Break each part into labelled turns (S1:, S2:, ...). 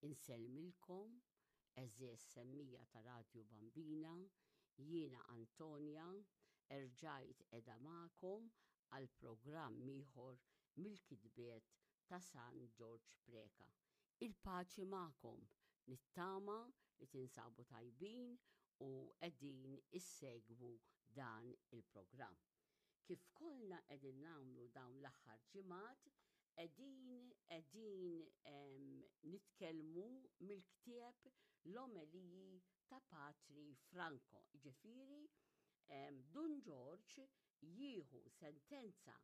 S1: Insellmilkom, għeżież semmija ta' Radju Bambina, jiena Antonia, erġajt qiegħda magħkom għal programm ieħor mill-kitbiet ta' San Ġorġ Preca. Il-paċi magħkom, nittama li tinsabu tajbin u qegħdin issegwu dan il-programm. Kif kollna qegħdin nagħmlu dawn l-aħħar ġimgħat, qegħdin qegħdin nitkellmu mill-ktieb L-Omeliji ta' Patri Franco. Ġifieri Dun Ġorġ jieħu sentenza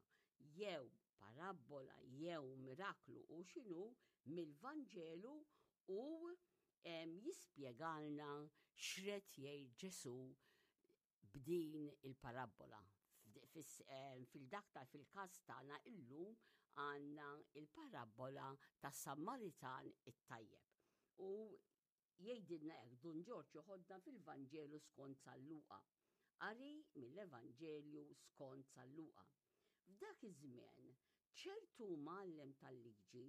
S1: jew parabbola jew miraklu u x'inhu mill-Vanġelu u jispjegalna x'red jgħid Ġesù b'din il-parabbola. Fil-dak ta' fil-każ tagħna illum għandna il-parabbola tas-Sammaritan it-tajjeb. U jgħidilna hekk Dun Ġorġ joħodna fil-Vanġelu skont San Luqa. Qari mill-Evanġelju skont San Luqa. F'dak iż-żmien, ċertu mgħallem tal-liġi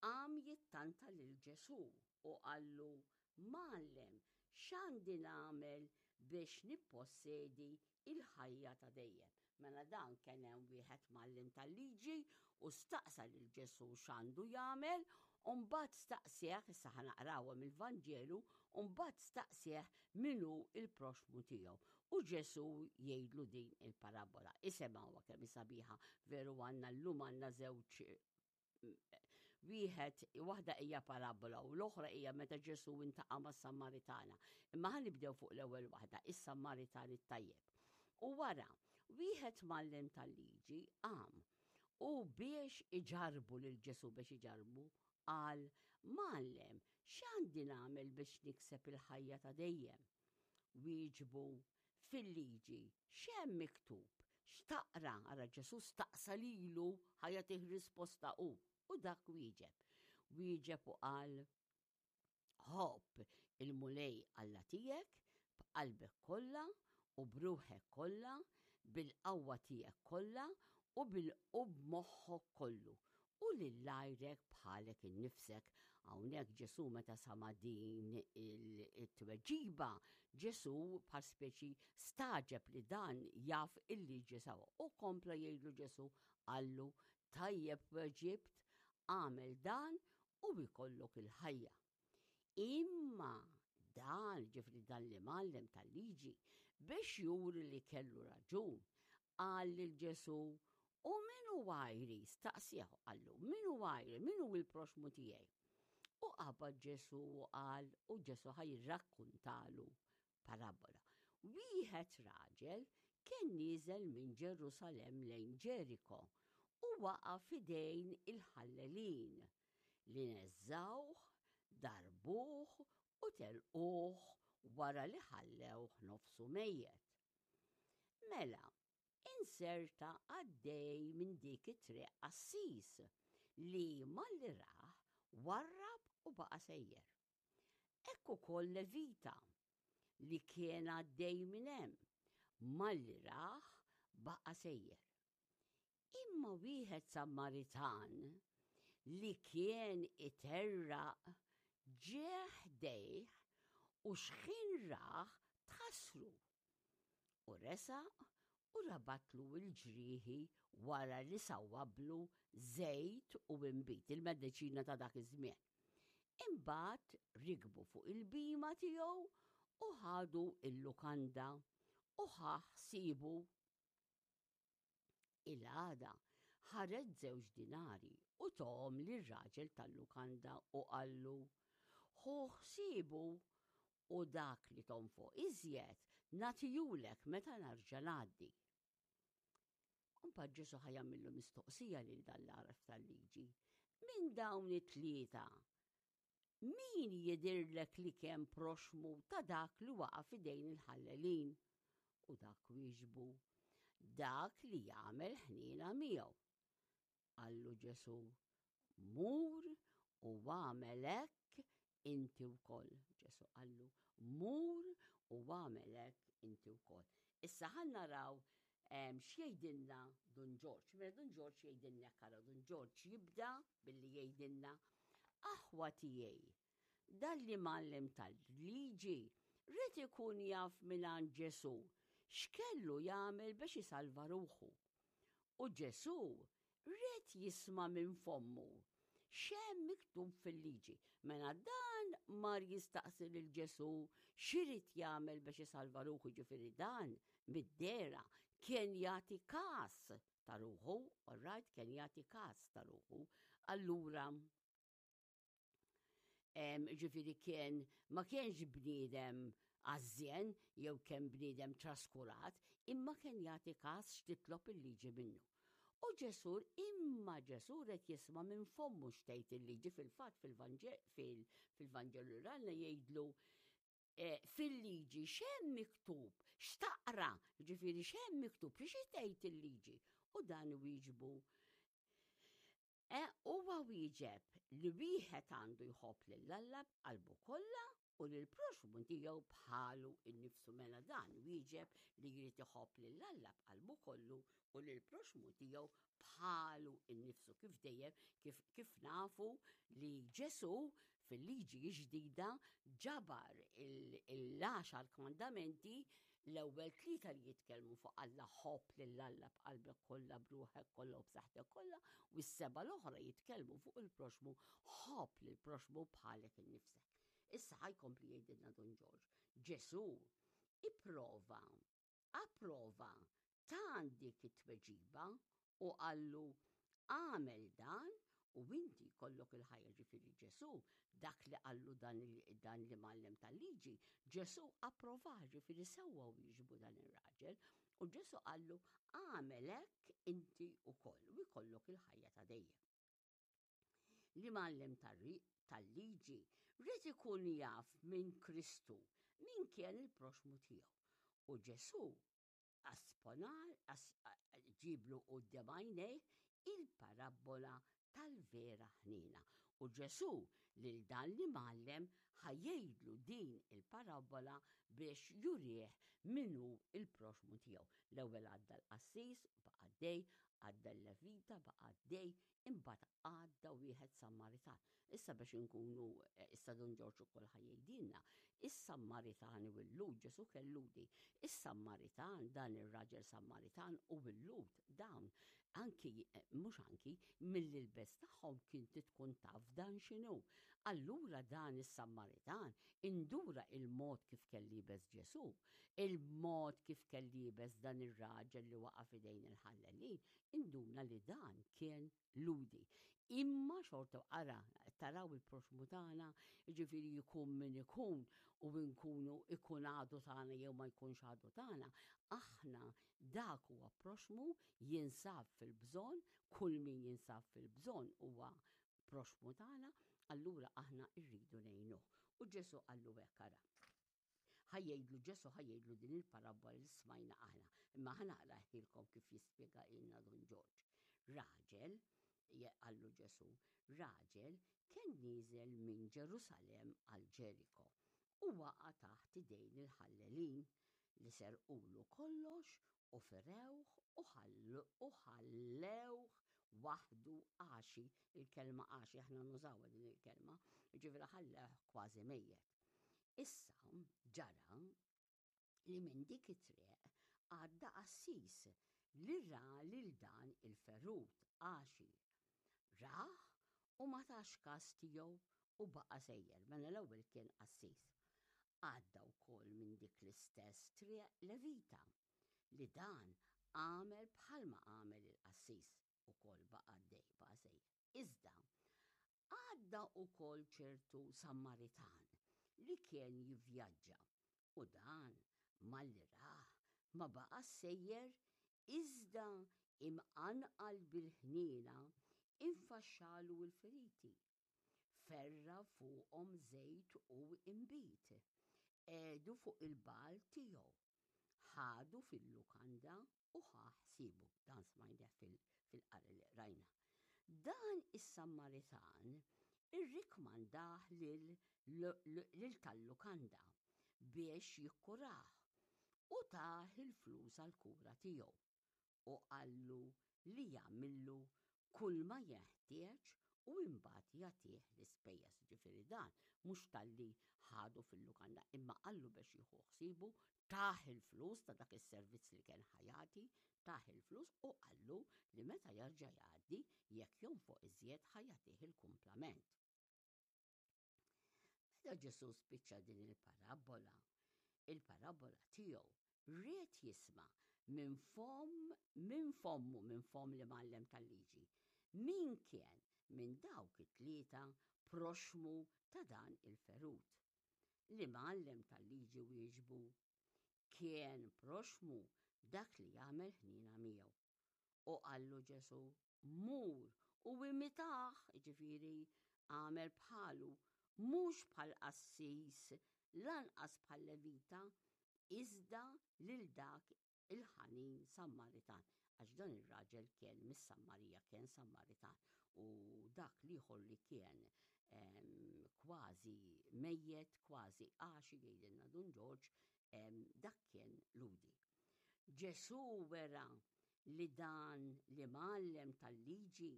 S1: qam jittanta lil Ġesù u qallu, Mgħallem, x'għandi nagħmel biex nippossedi l-ħajja ta' dejjem? Mela dan kien hemm wieħed mgħallem tal-liġi u staqsa lil Ġesù x'għandu jagħmel, u mbagħad staqsieh, issa ħa naqrawha mill-Vanġelu, u mbagħad staqsieh min hu l-proxxmu tiegħu. U Ġesù jgħidlu din il-parabbola. Isemgħuha kemm hi sabiħa, veru għandna llum għandna żewġ wieħed waħda hija parabola u l-oħra hija meta Ġesù intaqa' mas-Sammaritana. Imma ħa nibdew fuq l-ewwel waħda, is-Sammaritan it-tajjeb. U wara, wieħed mgħallem tal-liġi qam u biex iġarbu lil Ġesù biex iġarbu qal, Mgħallem, x'għandi nagħmel biex nikseb il-ħajja ta' dejjem? Wieġbu, Fil-liġi x'hemm miktub? X'taqra? Ara Ġesù staqsa lilu ħa jagħtih risposta hu. U dak wieġeb. Wieġeb u qal, Ħobb il-Mulej Alla tiegħek b'qalbek kollha u b'ruħek kollha, bil-qawwa tiegħek kollha u bil u b'moħħok kollu, u lil għajrek bħalek innifsek. Hawnhekk Ġesù meta sama' din it-tweġiba, Ġesù bħal speċi stagħġeb li dan jaf il-liġi sewwa. U kompla jgħidlu Ġesù qallu tajjeb weġibt, agħmel dan u jkollok il-ħajja. Imma dan, ġifri dan l-imgħallem tal-liġi, biex juri li kellu raġun, qal lil Ġesù, U min hu għajri? Staqsieh qallu, min hu għajri? Min hu l-proxmu tiegħi? U qabad Ġesù u qal, u Ġesù ħa jirrakkuntalu parabola. Wieħed raġel kien nieżel minn Ġerusalemm lejn Ġeriko u waqa' f'idejn il-ħallelin li neżżgħuh, darbuh u telquh wara li ħallewh nofsu mejjet. Mela, inserta għaddej minn dik it-triq qassis li malli rah warrab u baqa' sejjer. Hekk ukoll Levita li kien għaddej minn hemm, malli rah baqa' sejjer. Imma wieħed Sammaritan li kien iterraq ġie ħdejh u xħin rah tħassru. U resaq u rabatlu l-ġrieħi wara li sawwablu żejt u inbid, il-mediċina ta' dak iż-żmien. Imbagħad rikbu fuq il-bhima tiegħu u ħadu l-lukanda u ħa ħsiebu. Il-għada ħareġ żewġ dinari u tahom lir-raġel tal-lukanda u qallu, Ħu ħsiebu u dak li tonfoq iżjed nagħtihulek meta narġa' ngħaddi. Mbagħad Ġesù ħa jagħmillu mistoqsija lil dan l-għaref tal-liġi. Minn dawn it-tlieta, min jidhirlek li kemm proxmu ta' dak li waqa' f'idejn il-ħallelin? U dak wieġbu, dak li jagħmel ħniena miegħu. Qallu Ġesù, Mur u agħmel hekk inti wkoll. Ġesù qallu, Mur u agħmel hekk inti wkoll. Issa ħa naraw x'jgħidilna Dun Ġorġ. Mela Dun Ġorġ jgħidilna hekk ara Dun Ġorġ jibda billi jgħidilna aħwa tiegħi. Dan l-imgħallem tal-liġi ried ikun jaf mingħand Ġesù x'kellu jagħmel biex isalva ruħu. U Ġesù ried jisma' minn fommu x'hemm miktub fil-liġi. Mela dan mar jistaqsi lil Ġesù x'irid jagħmel biex isalva ruħu, ġifieri dan mid-dehra kien jagħti kas ta' ruħu, all right, kien jagħti kas ta' ruħu. Allura ġifieri kien ma kienx bniedem għażżien jew kien bniedem traskurat, imma kien jagħti kas x'titlob il-liġi minnu. U Ġesù, imma Ġesù red jisma' minn fommu x'tgħid il-liġi fil-fatt fil-Vanġelu rana jgħidlu eh, fil-liġi x'hemm miktub, x'taqra, ġifieri x'hemm miktub, xi tgħid il-liġi. U dan wieġbu E, huwa wieġeb li wieħed għandu jħobb lil Alla b'qalbu kollha u lil proxmu tiegħu bħalu innifsu mela dan wieġeb li jrid iħobb lil Alla b'qalbu kollu u lil proxmu tiegħu bħalu innifsu kif dejjem kif, kif nafu li Ġesu fil-liġi ġdida ġabar il-għaxar kmandamenti L-ewwel tlieta li jitkellmu fuq Alla ħobb lil Alla b'qalbek kollha, b'ruħek kollha u b'saħħtek kollha, u s-seba' l-oħra jitkellmu fuq il-proxmu ħobb lil proxmu bħalek innifsek. Issa ħajkompli jgħidilna Dun Ġorġ. Ġesù ipprova, approva ta' dik it-tweġiba u qallu agħmel dan u inti jkollok il-ħajja ġifieri Ġesù dak li qallu dan dan l-imgħallem tal-liġi, Ġesù approvah ġifieri sewwa wieġbu dan ir-raġel u Ġesù qallu agħmel hekk inti wkoll u jkollok il-ħajja ta' dejjem. L-imgħallem tal-liġi ried ikun jaf minn Kristu min kien il-proxmu tiegħu. U Ġesù Asponar, ġieblu quddiem għajnejh il-parabbola tal-vera ħniena. U Ġesù lil dan l-imgħallem ħa jgħidlu din il-parabbola biex jurih min hu l-proxxmu tiegħu. L-ewwel għadda l-qassis, baqa' għaddej, għadda l-levita, baqa' għaddej, Imbagħad għadda wieħed Sammaritan. Issa biex inkunu, eh, issa Dun Ġorġ ukoll ħa jgħidilna, is-Sammaritani u l-Lhud, Ġesù kien Lhudi, is-Sammaritan, dan ir-raġel Sammaritan u l-Lhud, dawn anki, eh, mhux anki, mill-ilbes tagħhom kien tkun taf dan x'inhu. Allura dan is-Sammaritan indura il-mod kif kellu liebes Ġesù, il-mod kif kellu liebes dan ir-raġel li waqa' f'idejn il-ħallelin, Induna li dan kien Lhudi. Imma xorta ara, taraw il-proxmu tagħna, jiġifieri jkun min ikun u nkunu ikun għadu tagħna jew ma jkunx għadu tagħna, aħna dak huwa proxmu jinsab fil-bżonn, kull min jinsab fil-bżonn huwa proxmu tagħna, allura aħna rridu ngħinuh. U Ġesù qallu hekk ara. Ħa jgħidlu Ġesù ħa jgħidlu din il-parabbola li smajna aħna. Imma ħa naqrahielkom kif jispjegahielna Dun Ġorġ. Raġel, qallu Ġesù, raġel kien nieżel minn Ġerusalemm għal Ġeriko u waqa' taħt idejn il-ħallelin li serqulu kollox u ferewh u ħallewh waħdu għaxi, il-kelma għaxi aħna nużawha din il-kelma, jiġifieri ħallewh kważi mejjet. Issa ġara li minn dik it-triq għadda qassis li ra lil dan il-ferut għaxi. Rah u ma tax kas tiegħu u baqa' sejjer, mela l-ewwel kien qassis. Għadda wkoll minn dik l-istess triq Levita, li dan għamel bħalma għamel il-qassis, ukoll baqa' għaddej, baqa' sejjer. Iżda, għadda wkoll ċertu Sammaritan li kien jivvjaġġa, u dan, malli rah, ma baqax sejjer, iżda imqanqal bil-ħniena, infaxxalu l-feriti, ferra' fuqhom żejt u inbid, qiegħdu fuq il-bagħal tiegħu, ħadu fil-lukanda u ħa ħsiebu. Dan smajnieh fil-qari li qrajna. Dan is-Sammaritan irrikmandah lil tal-lukanda biex jikkurah u tah il-flus għall-kura tiegħu u qallu li jagħmillu kulma jeħtieġ. u imbagħad jagħtih l-ispejjeż. Ġifieri dan mhux talli ħadu fil-lukanda imma qallu biex jieħu ħsiebu, tah il-flus ta' dak is-servizz li kien ħa jagħti, tah il-flus u qallu li meta jerġa' jgħaddi jekk jonfoq iżjed ħa jagħtih il-kumplament. Meta Ġesù spiċċa din il-parabbola, il-parabbola tiegħu, ried jisma' minn fomm minn fommu minn fomm l-imgħallem tal-liġi, min kien minn dawk it-tlieta proxxmu ta' dan il-ferut. L-imgħallem tal-liġi wieġbu, Kien proxxmu dak li għamel ħniena miegħu. U qallu Ġesù, Mur u imitah, jiġifieri agħmel bħalu, mhux bħal qassis, lanqas bħal levita, iżda lil dak il-ħanin Sammaritan, għax dan ir-raġel kien mis-Sammarija, kien Sammaritan, u dak l-ieħor li kien kważi mejjet, kważi għaxi jgħidilna Dun Ġorġ, dak kien Lhudi. Ġesù wera li dan l-imgħallem tal-liġi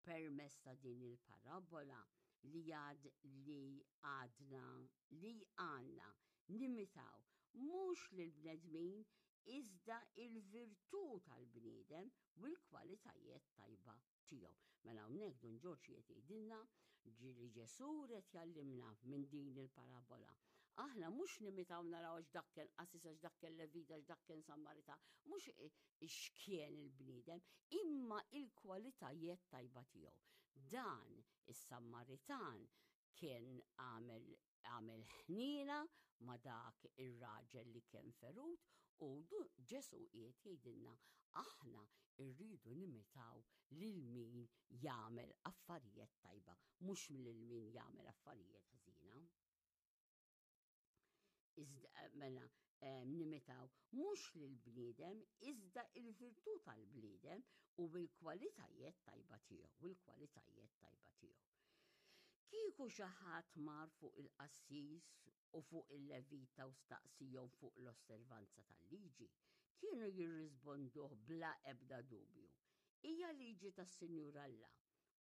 S1: permezz ta' din il-parabbola li għad li għadna li għandna nimitaw mhux lill-bnedmin iżda il-virtù tal-bniedem u l-kwalitajiet tajba tiegħu. Mela hawnhekk Dun Ġorġ qiegħed jgħidilna li Ġesù ried jgħallimna minn din il-parabbola. Aħna mhux nimitaw naraw għax dak kien qassis, għax dak kien levita, għax dak kien Sammarita, mhux x'kien il-bniedem, imma il-kwalitajiet tajba tiegħu. Dan is-Sammaritan kien għamel għamel ħniena ma' dak ir-raġel li kien ferut u Ġesù qiegħed jgħidilna aħna rridu nimitaw lil min jagħmel affarijiet tajba, mhux lil min jagħmel affarijiet ħżiena. Iżda mela nimitaw mhux lill-bniedem iżda il-virtù tal-bniedem u l-kwalitajiet tajba tiegħu, u l-kwalitajiet tajba tiegħu. Kieku xi ħadd mar fuq il-qassis u fuq il-levita u staqsihom fuq l-osservanza tal-liġi, kienu jirrisponduh bla ebda dubju, Hija liġi tas-Sinjur Alla,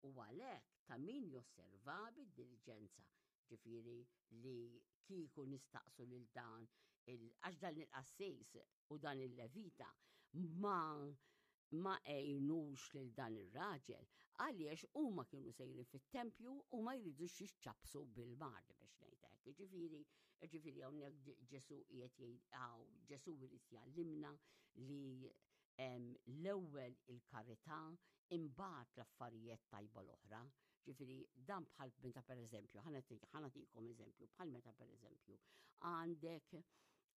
S1: u għalhekk ta' min josservaha bid-diliġenza, ġifieri li kieku nistaqsu lil dan il għax dan il-qassis u dan il-levita ma ma għinux lil dan ir-raġel għaliex huma kienu sejrin fit-tempju u ma jridux jiċċappsu bil-mard biex ngħid hekk. Ġifieri, ġifieri hawnhekk Ġesù qiegħed jgħid Ġesù jrid jgħallimna li l-ewwel il-karità imbagħad l-affarijiet tajba l-oħra. Ġifieri dan bħal meta pereżempju, ħa nagħtikom eżempju, bħal meta pereżempju għandek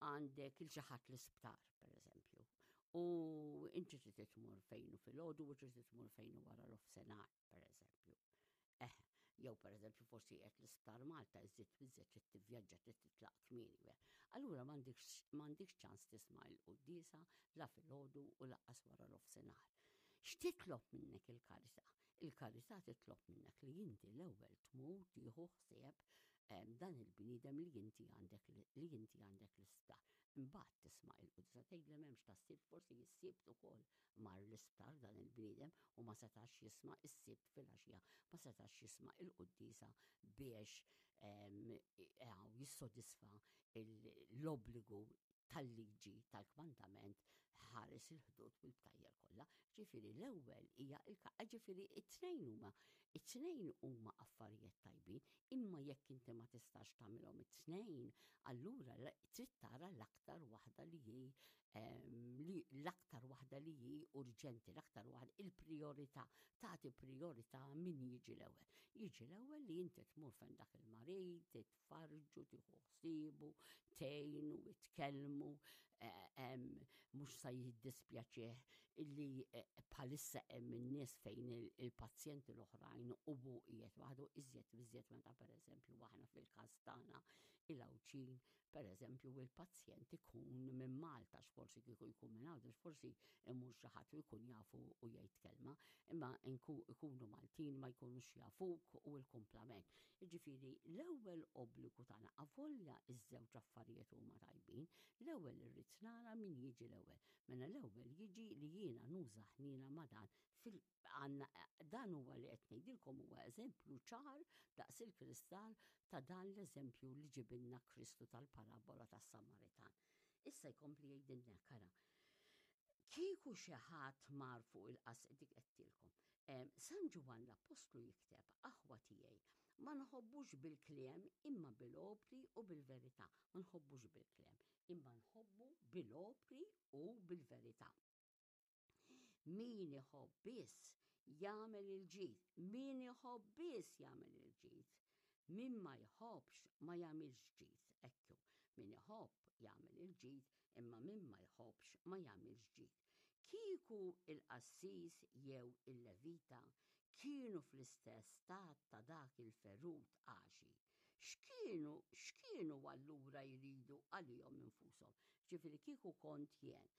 S1: għandek il xi ħadd l-isptar pereżempju. U inti trid tmur fejn u filgħodu u trid tmur fejn u wara l-ofsenar pereżempju. Eh, jew pereżempju forsi qed l-isptar Malta iżid biżżejjed trid tivvjaġġa trid titlaq kmieni. Allura m'għandikx ċans tisma' il-quddiesa la filgħodu u lanqas wara l-ofsenar. X'titlob minnek il-karità? Il-karità titlob minnek li inti l-ewwel tmur tieħu ħsieb dan il-bniedem li inti għandek li inti għandek l-isptar. Imbagħad tisma' il-quddiesa tgħid li m'hemmx tas-Sibt forsi s-Sibt ukoll mar l-isptar dan il-bniedem u ma setax jisma' is-Sibt filgħaxija ma setax jisma' il-quddiesa biex jissodisfa l-obbligu tal-liġi tal-kmandament ħares il-ħdud u l-btajjel kollha. Ġifieri l-ewwel hija ġifieri it-tnejn huma it-tnejn huma affarijiet tajbin, imma jekk inti ma tistax tagħmilhom it-tnejn, allura trid tara l-aktar waħda li hi li l-aktar waħda li hi urġenti, l-aktar waħda il-priorità, tagħti priorità min jiġi l-ewwel. Jiġi l-ewwel li inti tmur fejn dak il-marid, tfarrġu, tieħu ħsiebu, tgħinu, tkellmu, eh, mhux sa jiddispjaċih illi eh, bħalissa hemm in-nies fejn il-pazjenti l-oħrajn u hu qiegħed waħdu iżjed iżjed meta pereżempju aħna fil-każ tagħna il-Għawdxin pereżempju il-pazjent ikun minn Malta x'forsi kieku jkun minn Għawdex forsi imur xi ħadd u jkun jafu u jgħid kelma, imma ikunu Maltin ma jkunux jafuk u l-kumplament. Jiġifieri l-ewwel obbligu tagħna avolja ż-żewġ affarijiet huma tajbin, l-ewwel irrid nara min jiġi l-ewwel. Mela l-ewwel jiġi li jiena nuża ħniena ma' dan fil Għandna dan huwa li qed ngħidilkom huwa eżempju ċar daqs il-kristall ta' dan l-eżempju li ġibilna Kristu tal-parabola tas-Samaritan. Issa jkompli jgħidilna kara. Kieku xi ħadd mar fuq il-qas dik qedtilkom. San Ġwann l-Appostlu jikteb, aħwa tiegħi, ma nħobbux bil-kliem imma bil-opri u bil-verità. Ma nħobbux bil-kliem, imma nħobbu bil-opri u bil-verità. Min iħobb biss jagħmel il-ġid. Min iħobb biss jagħmel il-ġid. Min ma jħobbx ma jagħmilx ġid. Ekku, min iħobb jagħmel il-ġid, imma min ma jħobbx ma jagħmilx ġid. Kieku il-qassis jew il-levita kienu fl-istess stat ta' dak il-ferut għaxi, x'kienu x'kienu allura jridu għalihom infushom? Ġifieri kieku kont jien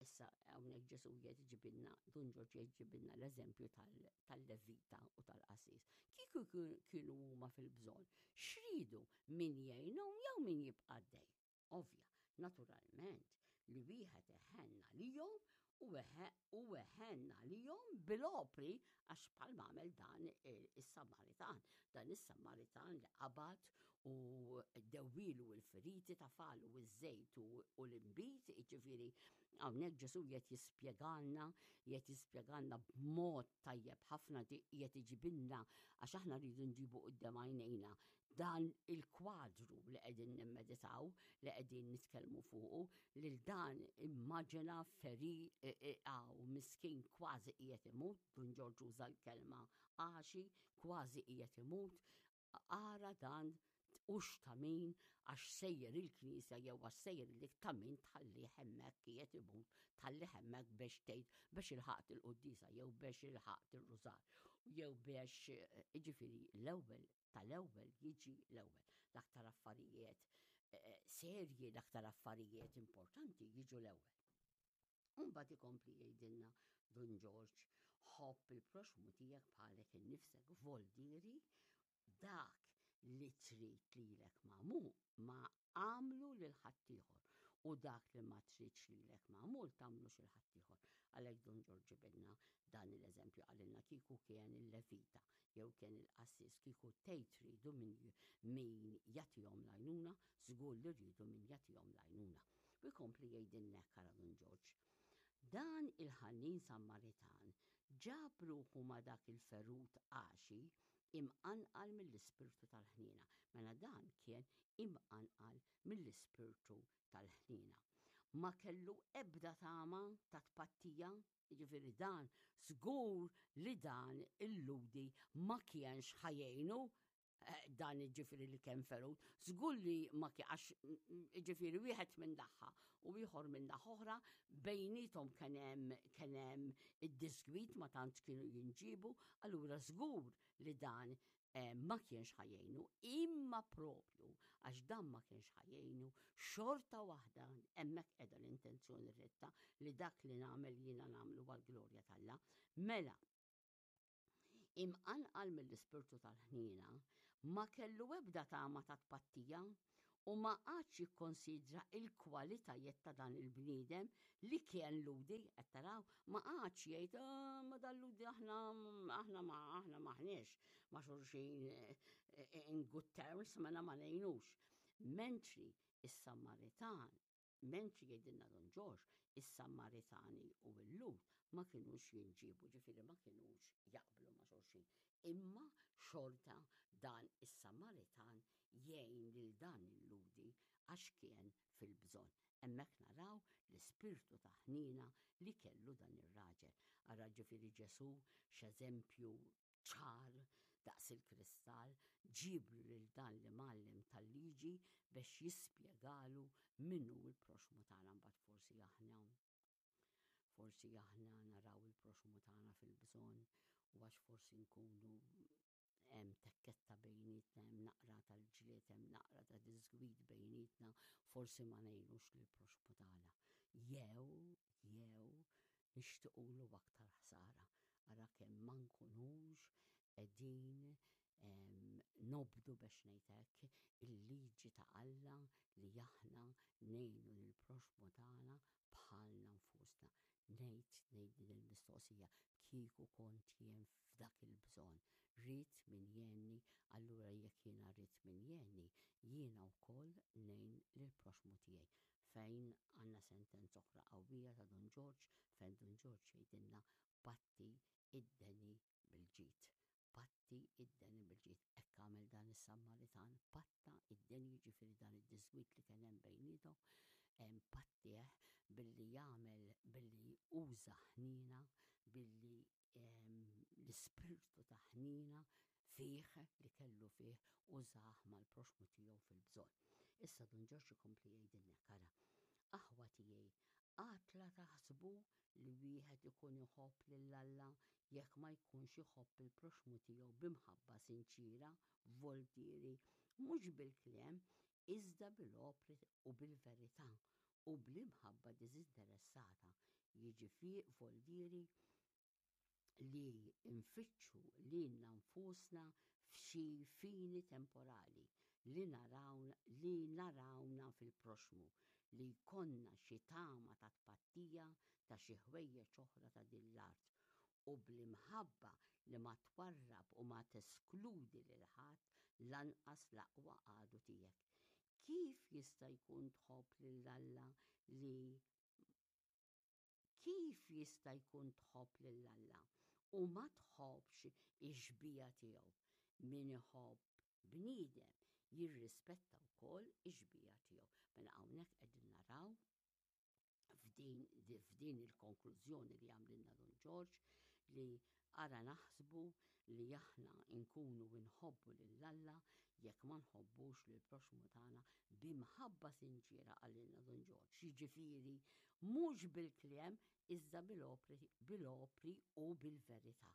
S1: Issa hawnhekk Ġesù qiegħed iġibilna, Dun Ġorġ qiegħed iġibilna l-eżempju tal-levita u tal-qassis. Kieku kienu huma fil-bżonn, x'ridu min jgħinhom jew min jibqa' għaddej? Ovvja, naturalment li wieħed iħenn għalihom u iħenn għalihom bil-opri għax bħalma għamel dan is-Samaritan. Dan is-Samaritan li qabad u dewwilu l-feriti tafalu iż-żejt u l-inbid, jiġifieri hawnhekk Ġesù qiegħed jispjegalna, qiegħed jispjegalna b'mod tajjeb ħafna qiegħed iġibilna għax aħna rridu nġibu quddiem għajnejna dan il-kwadru li qegħdin nimmeditaw, li qegħdin nitkellmu fuqu, lil dan immaġina feri għaw miskin kważi qiegħed imut, Dun Ġorġ uża l-kelma għaxi, kważi qiegħed imut, Ara dan hux ta' min għax sejjer il-knisja jew għax sejjer dik ta' min tħallih hemmhekk qiegħed imut, tħallih hemmhekk biex tgħid biex ilħaqt il-quddiesa jew biex ilħaqt ir-rużar jew biex jiġifieri l-ewwel tal-ewwel jiġi l-ewwel. L-aktar affarijiet eh, serji, l-aktar affarijiet importanti jiġu l-ewwel. Imbagħad ikompli jgħidilna Dun Ġorġ, ħobb il-proxxmu tiegħek bħalek innifsek, voldieri dak li trid lilek magħmul ma għamlu lil ħaddieħor u dak li ma tridx lilek magħmul tagħmlux il ħaddieħor. Għalhekk Dun Ġorġ ġibilna dan l-eżempju qalilna kieku kien il-levita jew kien il-qassis kieku tgħid riedu min min jagħtihom l-għajnuna, żgur li riedu min jagħtihom l-għajnuna. U jkompli jgħidilna hekk ara Dun Ġorġ. Dan il-ħanin Sammaritan ġab ruħu ma' dak il-ferut għaxi imqanqal mill-ispirtu tal-ħniena. Mela dan kien imqanqal mill-ispirtu tal-ħniena. Ma kellu ebda tama ta' tpattija, jiġifieri dan żgur li dan il-Lhudi ma kienx ħa jgħinu Eh, dan ġifiri li kien ferut, żgur li ma għax mm, ġifiri wieħed minn daħħa u ieħor minn naħa oħra bejnietom kien hemm kien hemm id-diskwit ma tantx kienu jinġibu, allura żgur li dan eh, ma kienx ħajjejnu, imma propju għax dan ma kienx ħajjejnu, xorta waħda hemmhekk qiegħda l-intenzjoni retta li dak li nagħmel jiena nagħmlu għall-glorja t'Alla. Mela, Imqanqal mill-ispirtu tal-ħniena, ma kellu ebda tama ta' tpattija u ma qagħadx jikkonsidra il-kwalitajiet ta' dan il-bniedem li kien Lhudi, qed taraw, ma qagħadx jgħid ah, ma dan Lhudi aħna aħna ma aħna maħniex ma' xulxin eh, eh, in good terms mela ma ngħinux. Mentri is-Samaritan Mentri jgħidilna Dun Ġorġ, is-Sammaritani u l-Lhud ma kinux jinġiebu, ġifieri ma kinux jaqblu ma' xulxin. Imma xorta dan is-Sammaritan jgħin lil dan il-Lhudi għax kien fil-bżonn. Hemmhekk naraw l-ispirtu ta' ħniena li kellu dan ir-raġel. Ara ġifieri Ġesù x'eżempju ċar daqs il-kristall, ġieblu lil dan l-imgħallem tal-liġi biex jispjegalu min hu l-proxxmu tagħna. Mbagħad forsi aħna forsi aħna naraw il-proxxmu tagħna fil-bżonn u għax forsi nkunu hemm tekketta bejnietna, hemm naqra tal-ġlied, hemm naqra ta' diżgwid bejnietna, forsi ma ngħinux lill-proxxmu tagħna. Jew, jew nixtiqulu aktar ħsara. Ara kemm ma nkunux qegħdin Nobdu biex ngħid hekk il-liġi ta' Alla li aħna ngħinu lill-proxxmu tagħna bħalna nfusna. Ngħid ngħid din il-mistoqsija, kieku kont jien f'dak il-bżonn, ridt min jgħinni, allura jekk jiena ridt min jgħinni, jiena wkoll ngħin lill-proxxmu tiegħi. Fejn għandna sentenza oħra qawwija ta' Dun Ġorġ, fejn Dun Ġorġ jgħidilna patti id-deni bil-ġid. Patti id-deni bil-ġid. Hekk għamel dan is-Sammaritan, patta id-deni jiġifieri dan id-diżgwid li kien hemm bejniethom, pattih billi jagħmel billi uża ħniena, billi l-ispirtu ta' ħniena fih li kellu fih użah mal-proxxmu tiegħu fil-bżonn. Issa Dun Ġorġ ikompli jgħidilna hekk, ara, aħwa tiegħi, qatt la taħsbu li wieħed ikun iħobb lil Alla jekk ma jkunx iħobb il-proxxmu tiegħu b'imħabba sinċiera, voltieri, mhux bil-kliem, iżda bil-opri u bil-verità, u bl-imħabba diżinteressata, jiġifieri voldieri li nfittxu lilna nfusna f'xi fini temporali li naraw li narawna fil-proxxmu, li jkollna xi tama ta' tpattija ta' xi ħwejjeġ oħra ta' din l-art, u bl-imħabba li ma twarrab u ma teskludi lil ħadd lanqas l-aqwa għadu tiegħek. Kif jista' jkun tħobb lil Alla li Kif jista' jkun tħobb lil Alla u ma tħobbx ix-xbieha tiegħu? Min iħobb bniedem jirrispetta wkoll ix-xbieha tiegħu. Mela hawnhekk qegħdin naraw f'din f'din il-konklużjoni li għamlilna Dun Ġorġ li ara naħsbu li aħna nkunu nħobbu lil Alla jekk ma nħobbux lil proxmu tagħna b'imħabba sinċiera qalilna Dun Ġorġ. Jiġifieri mhux bil-kliem iżda bil-opri bil-opri u bil-verità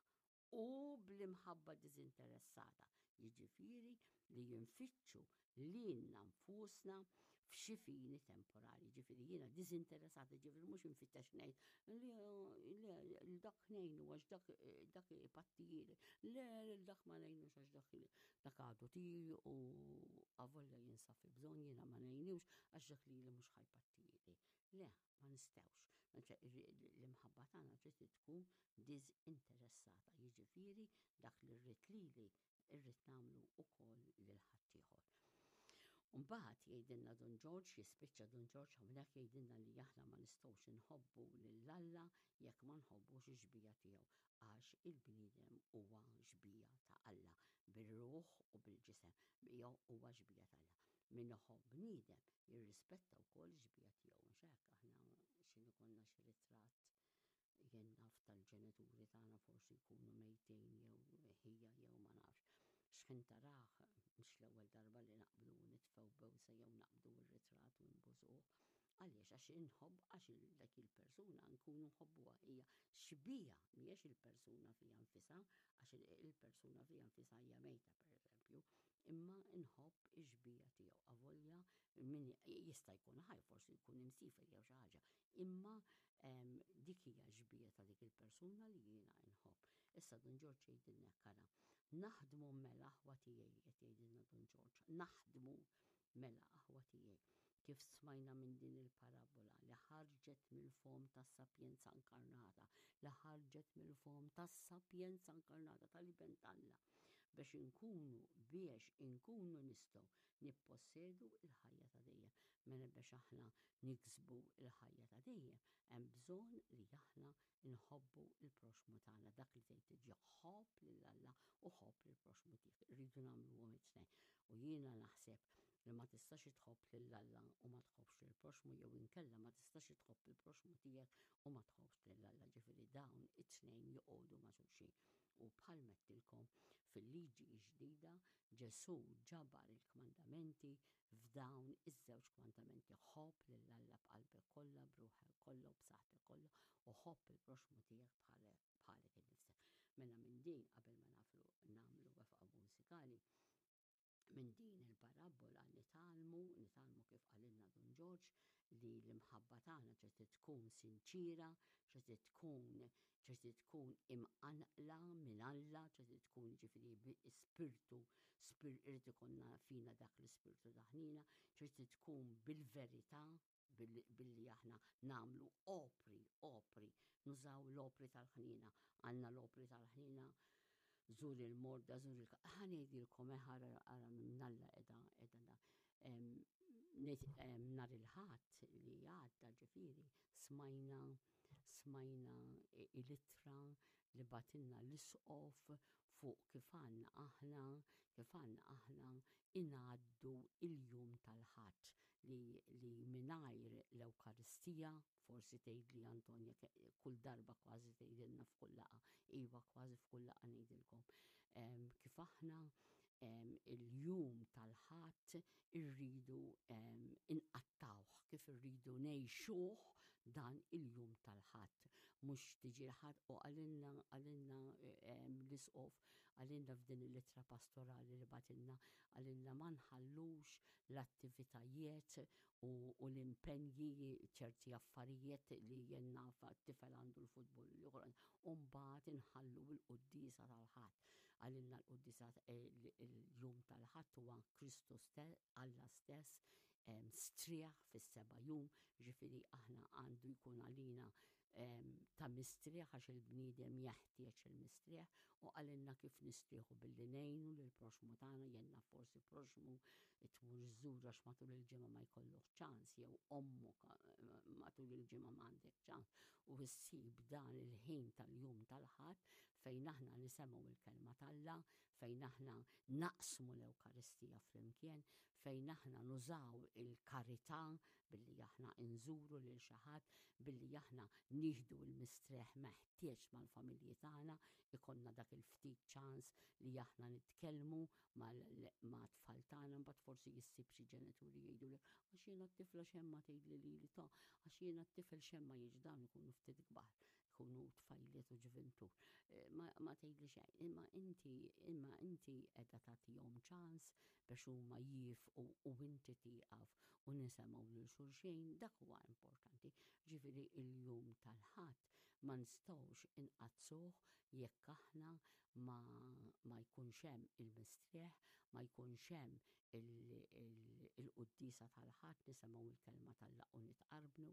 S1: u bl-imħabba diżinteressata, jiġifieri li jinfittxu lilna nfusna f'xi fini temporali. Ġifieri jiena diżinteressata, ġifieri mhux infittex ngħid li dak ngħinu għax dak dak ipattijieli, le lil dak ma ngħinux għax dak dak għadu tiegħi u avolja jinsab fi bżonn jiena ma ngħinux għax dak lili mhux ħa jpattijieli. Le, ma nistgħux. L-imħabba tagħna trid tkun diżinteressata, jiġifieri dak li rrid lili rrid nagħmlu wkoll lil ħaddieħor. Mbagħad jgħidilna Dun Ġorġ, jispiċċa Dun Ġorġ hawnhekk jgħidilna li aħna ma nistgħux inħobbu lil Alla jekk ma nħobbux ix-xbieha tiegħu għax il-bniedem huwa xbieha ta' Alla bir-ruħ u bil-ġisem, huwa xbieha ta' Alla. Min iħobb bniedem jirrispetta wkoll ix-xbieha tiegħu, mhux hekk? Aħna x'inhu konna xi ritratt jien naf tal-ġenituri tagħna forsi jkunu mejtin jew ħija jew ma nafx. X'ħin tarah mhux l-ewwel darba li naqbdu u nitfgħu bewsa jew naqbdu r-ritratt u nbusuh. Għaliex? Għax inħobb għax dak il-persuna nkunu nħobbuha hija xbieha mhijiex il-persuna fiha nfisha għax il-persuna fiha nfisha hija mejta pereżempju, imma nħobb ix-xbieha tiegħu avolja min jista' jkun ħaj forsi jkun imsiefer jew xi ħaġa, imma dik hija x-xbieha ta' dik il-persuna li jiena nħobb. Issa Dun Ġorġ jgħidilna hekk ara, naħdmu mela aħwa tiegħi qed jgħidilna Dun Ġorġ, naħdmu mela aħwa tiegħi kif smajna minn din il-parabbola li ħarġet mill-fomm tas-sapjenza inkarnata, li ħarġet mill-fomm tas-sapjenza inkarnata tal-Iben t'Alla biex inkunu biex inkunu nistgħu nippossedu l-ħajja ta' dejjem. Mela biex aħna niksbu l-ħajja ta' dejjem, hemm bżonn li aħna nħobbu l-proxxmu tagħna. Dak li tgħid tiġi ħobb lil Alla u ħobb lill-proxxmu tiegħek. Irridu nagħmluhom it-tnejn. U jiena naħseb li ma tistax tħobb lil Alla u ma tħobbx lill-proxxmu jew inkella ma tistax tħobb il-proxxmu tiegħek u ma tħobbx lil Alla. Ġifieri dawn it-tnejn joqogħdu ma' xulxin. U bħal m'għedtilkom fil-liġi ġdida Ġesù ġabar il-kmandamenti f'dawn iż-żewġ kmandamenti, ħobb lil Alla b'qalbek kollha, b'ruħek kollha u b'saħħtek kollha u ħobb il-proxxmu tiegħek bħalek innifsek. Mela minn din qabel ma naflu nagħmlu wefqa mużikali, minn din il-parabbola nitgħallmu, nitgħallmu kif qalilna Dun Ġorġ, Li l-imħabba tagħna trid tkun sinċiera, trid tkun trid tkun imqanqla minn Alla, trid tkun ġifieri spirtu, irid ikollna fina dak l-ispirtu ta' ħniena, trid tkun bil-verità, billi aħna nagħmlu opri, opri, nużaw l-opri tal-ħniena. Għandna l-opri tal-ħniena, żur il-morda, żur il Ħa ngħidilkom, eh, ara ara minn Alla qiegħda qiegħda nhar il-Ħadd li għadda ġifieri smajna smajna l-ittra li bagħtilna l-Isqof fuq kif għandna aħna kif għandna aħna ingħaddu il-jum tal-Ħadd li li mingħajr l-Ewkaristija, forsi tgħidli Antonja kull darba kważi tgħidilna f'kull laqgħa, iva kważi f'kull laqgħa ngħidilkom kif aħna il-jum tal-Ħadd irridu inqattawh, kif irridu ngħixuh dan il-jum tal-Ħadd. Mhux tiġi l-Ħadd u qalilna qalilna l-Isqof qalilna f'din il-ittra pastorali li bagħtilna qalilna ma nħallux l-attivitajiet u, u l-impenji ċerti affarijiet li jien naf t-tifel għandu l-futbol l-ieħor u mbagħad inħallu l-quddiesa tal-Ħadd. Qalilna l-quddiesa il-jum tal-Ħadd huwa Kristu stess, Alla stess strieħ fis-seba' jum, ġifieri aħna għandu jkun għalina ta' mistrieħ għax il-bniedem jeħtieġ il-mistrieħ u qalilna kif nistrieħu billi ngħinu lill-proxxmu tagħna, jien naf forsi proxxmu tmur iżżur għax matul il-ġimgħa ma jkollok ċans jew ommok matul il-ġimgħa ma għandek ċans u ssib dan il-ħin tal-jum tal-Ħadd fejn aħna nisemgħu l-kelma t'Alla, fejn aħna naqsmu l-Ewkaristija flimkien, fejn aħna nużaw il-karità billi aħna nżuru lil xi ħadd, billi aħna nieħdu l-mistrieħ meħtieġ mal-familji tagħna, ikollna dak il-ftit ċans li aħna nitkellmu mat-tfal tagħna, mbagħad forsi issib xi ġenituri jgħidulek għax jiena t-tifla xejn ma tgħidli lili ta' għax jiena t-tifel xejn ma jiġi dawn ikunu ftit kbar, ikunu tfajliet u ġuventur. Eh, ma, ma tgħidli xejn, imma inti imma inti qiegħda tagħtihom ċans biex huma jifqu u inti tieqaf u nisemgħu lil xulxin, dak huwa importanti. Ġifieri il-jum tal-Ħadd ma nistgħux inqaddsuh jekk aħna ma, ma jkunx hemm il-mistrieħ, ma jkunx hemm il-quddiesa tal-Ħadd nisemgħu l-kelma t'Alla u nitqarbnu,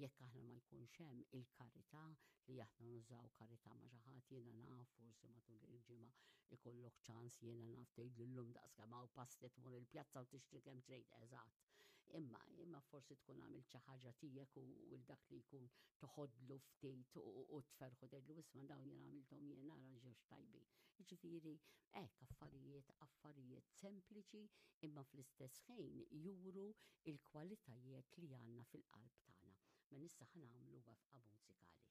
S1: jekk aħna ma jkunx hemm il-karità li aħna nużaw karità ma' xi ħadd jiena naf forsi matul il-ġimgħa ikollok ċans jiena naf tgħidli llum daqs kemm hawn pasti tmur il-pjazza u tixtri kemm trid eżatt. Imma imma forsi tkun għamilt xi ħaġa tiegħek u l dak li jkun toħodlu ftit u tferħu tgħidlu isma' dawn jien għamilthom jien ara ġewx tajbin. Jiġifieri hekk affarijiet affarijiet sempliċi imma fl-istess ħin juru l-kwalitajiet li għandna fil-qalb tagħna. Mela issa ħa nagħmlu wefqa mużikali.